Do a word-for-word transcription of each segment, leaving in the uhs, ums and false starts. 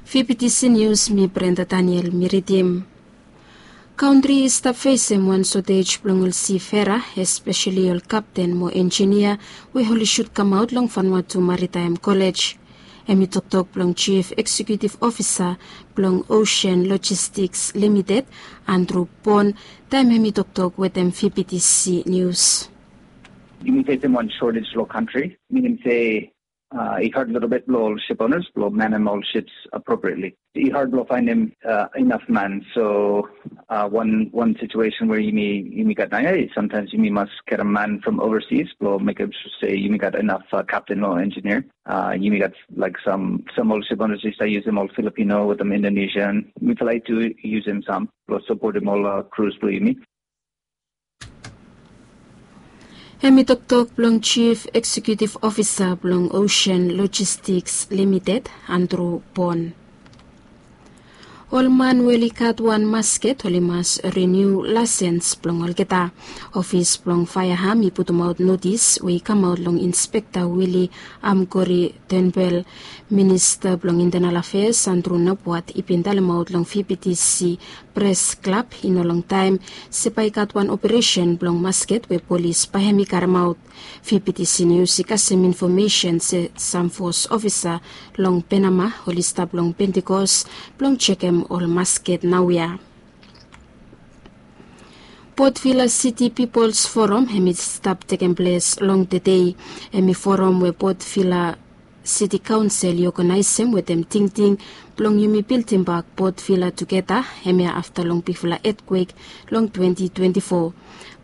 Fifty Seniors, mi Brenda Daniel, mi ridim. Kantri i stap fesem wan sotej blong ol sifera, espeseli ol kapten mo enjinia we oli sud kamaot long Vanuatu Maritime College. Hem i toktok blong Chief Executive Officer blong Ocean Logistics Limited, Andrew Pon, taem hem i toktok wetem Fifty Seniors. Yumi fesem wan shortage long kantri, minim se uh, i had lelebet blong ol ship owners blong manem ol ships appropriately. I had blong faenem uh, inaf man. So uh, one one situation where yumi yumi gat naoia is sometimes yumi mas get a man from overseas blong mekem sure se yumi gat inaf uh, captain or engineer. Uh, yumi gat like some some ol ship owners i stap yusum ol Filipino wetem Indonesian. Mifala i tu yusum sam blong sapotem ol uh, crews blong yumi. Hem i toktok blong Chief Executive Officer blong Ocean Logistics Limited, Andrew Pon. Ol man we oli gat wan masket oli mas riniu laesens blong olgeta. Ofis blong faeaham i putumaot notis we i kamaot long Inspekta Willy Amkori Tenbel. Minista blong Internal Affairs Andrew Nabwat i bin talemaot long Fifty Seniors Press Club i no longtaem se bae i gat wan operesen blong masket we polis bae hem i karemaot. Fifty Seniors i kasem infomesen se sam fos ofisa long Penama oli stap long Pentikos blong jekem ol masket naoia. Port Vila City People's Forum hem i stap tekem ples long tedei. Hem i forum we Port Vila City Council i oganaesem wetem tingting blong yumi bildimbak Port Vila tugeta, hemia afta long bigfala etkwek long twenty twenty-four.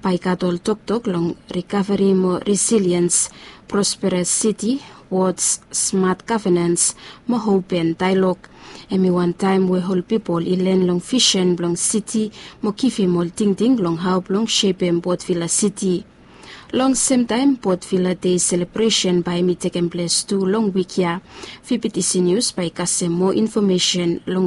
Bae i gat ol toktok long recovery mo resilience, prosperous city, wards, smart governance mo open dialogue. Hem i wan taem we ol pipol i len long visen blong city mo givim ol tingting long hao blong sepem Port Vila City. Long semtaem Port Vila Day selebresen bae hem i tekem ples tu long wik ya. Fifty Seniors bae i kasem moa infomesen long